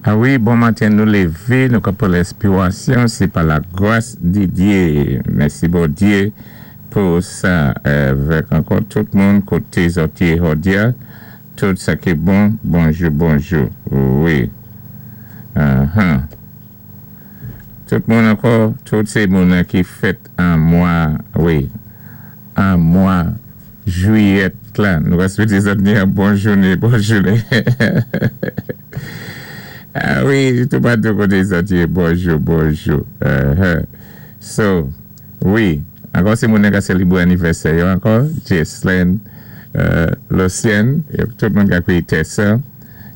Ah wi, bon maten, nou lévé, nou ka pran lenspiwasyon, sé pa la gwas di Dye. Mèsi Bondyé pou sa. Vèk ankò tout moun koté zòt yé jòdi-a, tout sa ki bon, bonjou bonjou. Wi. Ahan. Tout moun ankò, tout sé moun ki fèt an mwa, wi, an mwa jwiyèt la. Nou va swété zòt ni yon bon jouné, bon jouné. Ah wi, toupatou koté zòt yé, bonjou, bonjou. So, wi, ankò sé moun ka sélébré anivèsè yo ankò, Jeslen, Lucienne, tout moun ka kwiyé Tessa,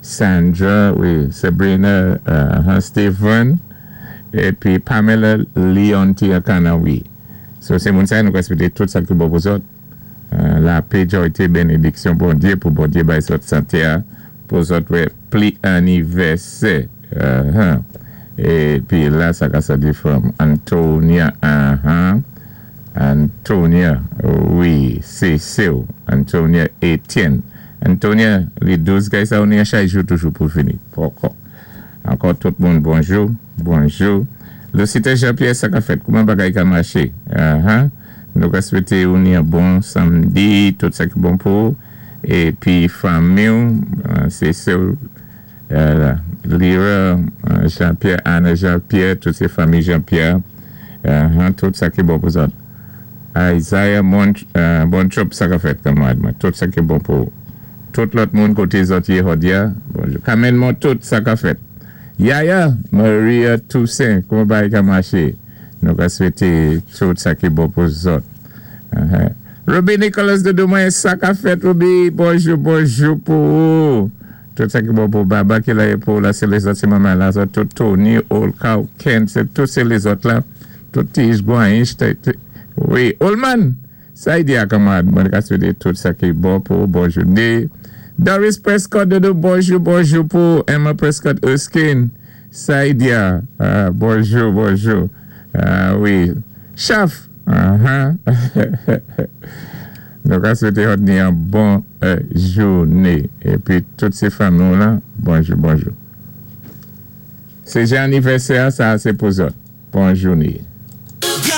Sandra, wi, Sabrina, Steven, épi Pamela Leontia Kanawi. So, sé moun sa nou ka swété tout sa ki bon pou zòt. Lapé, jòyté, bénédiksyon Bondyé pou Bondyé bay zòt santé a pou zòt wè pli anivèsè. Épi la sa ka sòti from Antonia, Antonia, wi, sé séw, Antonia Etienne. Antonia, li dous gay sa ou ni chay jou toujou pou vini. Poko. Ankò tout moun bonjou, bonjou. Lucita Jean-Pierre, sa ka fèt? Kouman bagay ka maché? Nou ka swété ou ni yon bon samdi, tout sa ki bon pou ou. Épi fanmiw, sé séw Lira Jean-Pierre, Anna Jean-Pierre, tout sé fanmi Jean-Pierre, tout sa ki bon pou zòt. Isaiah Montrop, sa ka fèt kanmarad mwen, tout sa ki bon pou ou. Tout lòt moun koté zòt yé jòdi-a, bonjou. Carmen Montout, sa ka fèt? Yaya Maria Toussaint, kouman bagay ka maché? Nou ka swété tout sa ki bon pou zòt. Ruby Nicholas doudou mwen, sa ka fèt Ruby? Bonjou, bonjou pou ou. Tout sa ki bon pou Baba ki la pou la, sé lézòt, sé manman la, zòt tout Tony, Olka, Ken, sé tout sé lézòt la, tout Tige, Guanish, wi, Olman, sa y di a kanmarad mwen ka swété tout sa ki bon pou bon jouné. Doris Prescott doudou, bonjou, bonjou pou Emma Prescott Erskine, sa y di a, bonjou, bonjou, wi, Chaf, Nou ka swété zòt ni yon bon jouné. Épi tout sé fanmi lan, bonjou, bonjou. Sé jan anivèsè, sa sé pou zòt. Bon jouné.